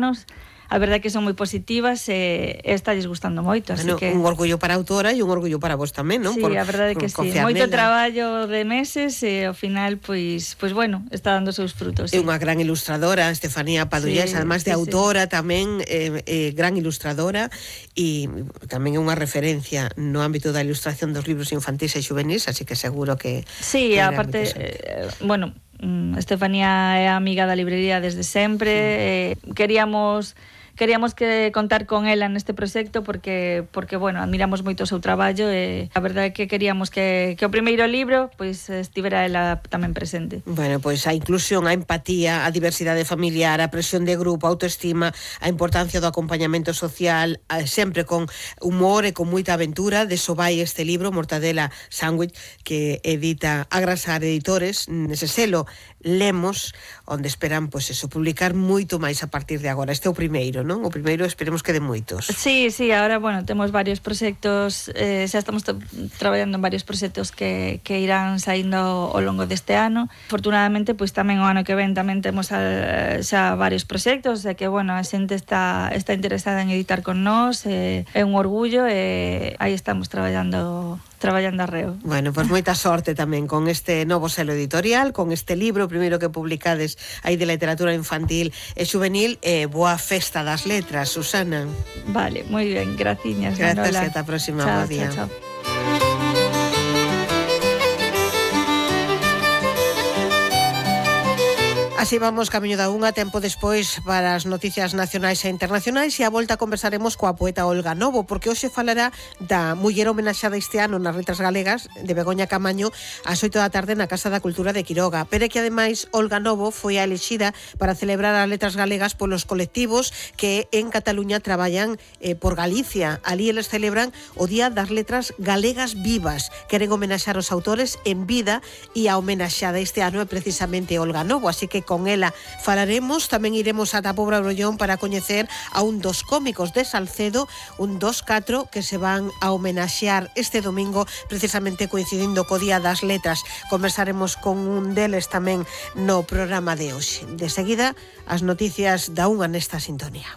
anos, a verdade é que son moi positivas e estalles gustando moito, así que... Un orgullo para a autora e un orgullo para vos tamén, non? Sí, a verdade é que sí, moito traballo de meses e ao final, pois bueno, está dando os seus frutos. É unha gran ilustradora, Estefanía Padullés, además de autora tamén, gran ilustradora, e tamén é unha referencia no ámbito da ilustración dos libros infantis e xuvenis, así que seguro que... Sí, aparte, bueno, Estefanía é amiga da librería desde sempre, queríamos que contar con ela neste proxecto porque bueno, admiramos moito o seu traballo e a verdade é que queríamos que o primeiro libro pois estivera ela tamén presente. Bueno, pois a inclusión, a empatía, a diversidade familiar, a presión de grupo, a autoestima, a importancia do acompañamento social, sempre con humor e con moita aventura, deso vai este libro, Mortadela Sándwich, que edita Agrasar Editores, nese selo Lemos, onde esperan, pois eso, publicar moito máis a partir de agora. Este é o primeiro, non? O primeiro esperemos que de moitos. Sí, ahora, bueno, temos varios proxectos, xa estamos traballando en varios proxectos que irán saindo ao longo deste ano. Afortunadamente, pois tamén o ano que ven tamén temos xa varios proxectos, e que, bueno, a xente está interesada en editar con nós, é un orgullo, e aí estamos traballando arreo. Bueno, pois moita sorte tamén con este novo selo editorial, con este libro, primeiro que publicades aí de literatura infantil e xuvenil, e boa festa das letras, Susana. Vale, moi ben, graciñas, Grazas, Manola. e ata a próxima, chao, bo día. Chao. Así vamos camiño da unha, tempo despois para as noticias nacionais e internacionais, e a volta conversaremos coa poeta Olga Novo, porque hoxe falará da muller homenaxada este ano nas letras galegas de Begoña Camaño ás 8 da tarde na Casa da Cultura de Quiroga. Pero é que ademais Olga Novo foi a elexida para celebrar as letras galegas polos colectivos que en Cataluña traballan por Galicia. Ali eles celebran o Día das Letras Galegas Vivas. Queren homenaxar os autores en vida, e a homenaxada este ano é precisamente Olga Novo, así que con ela falaremos. Tamén iremos ata Pobra Brollón para coñecer a un dos cómicos de Salcedo, un dos 4 que se van a homenaxear este domingo, precisamente coincidindo co Día das Letras. Conversaremos con un deles tamén no programa de hoxe. De seguida, as noticias da unha nesta sintonía.